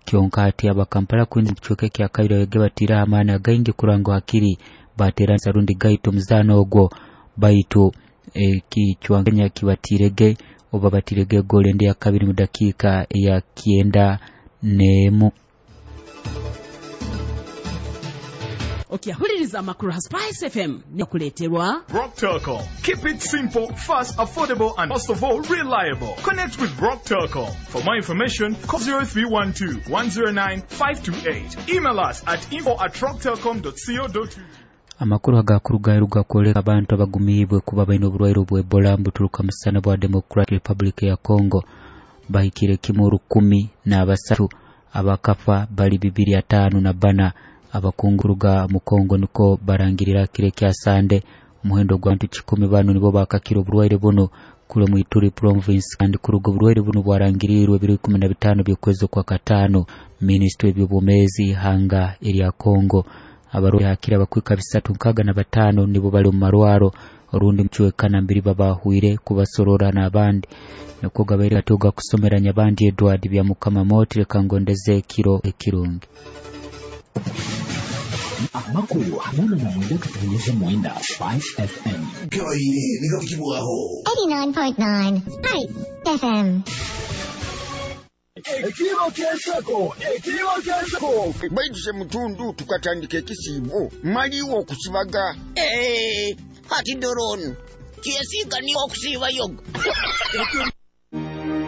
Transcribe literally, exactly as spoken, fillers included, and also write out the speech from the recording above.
Kyonka hati aba Kampala Queens kicweka ekya kabiri abege batira amaani againgi kuranga hakiri batera rundi gaito muzano ogwo baitu ekichwa Kenya kibatirege oba batirege gole ndi ya kabiri mu dakika ya kienda nemu. Okyahuliriza amakuru ha Spice F M nekuleterwa Rock Telcom. Keep it simple, fast, affordable and most of all reliable. Connect with Rock Telcom. For more information, call zero three one two, one zero nine, five two eight. Email us at info at rock telcom dot co dot u k. Amakuru agakurugaruga kwoleka abantu abagumiibwe kuba baine oburwaire bwa Ebola mbuturuka musana bwa Democratic Republic ya Congo bahikire kimu rukumi n'abasatu abakafa bali bibiri atano na bana. Abakunguruga mu Kongo niko barangirira kire kya Sande omuhendo gwa bantu kikumi bano nibo bakakira oburwaire buno kule mu Ituri province kandi kuruga oburwaire buno bwarangirirwe biri ikumi na bitano by'okwezi kwa katano. Ministry y'ebyobumezi hanga erya Kongo abarwaire hakira abakwika bisatu nkaga na batano nibo bali mu marwaro orundi mchwekana mbiri babahwire kubasorora n'abandi niko gabaire atoga kusomeranya abandi Edward bya Mukama Moti kangondeze kiro ekirungi. Amakuru hamwe na mwenda katunyeze mwenda Spice F M. eighty-nine point nine Spice F M. Ekiro ky'enseko, ekiro ky'enseko. Baiduse mutundu tukatandika ekisiibo maliwo okusibaga. Eh, ati doronu kyesiika ni okusiiba yoga.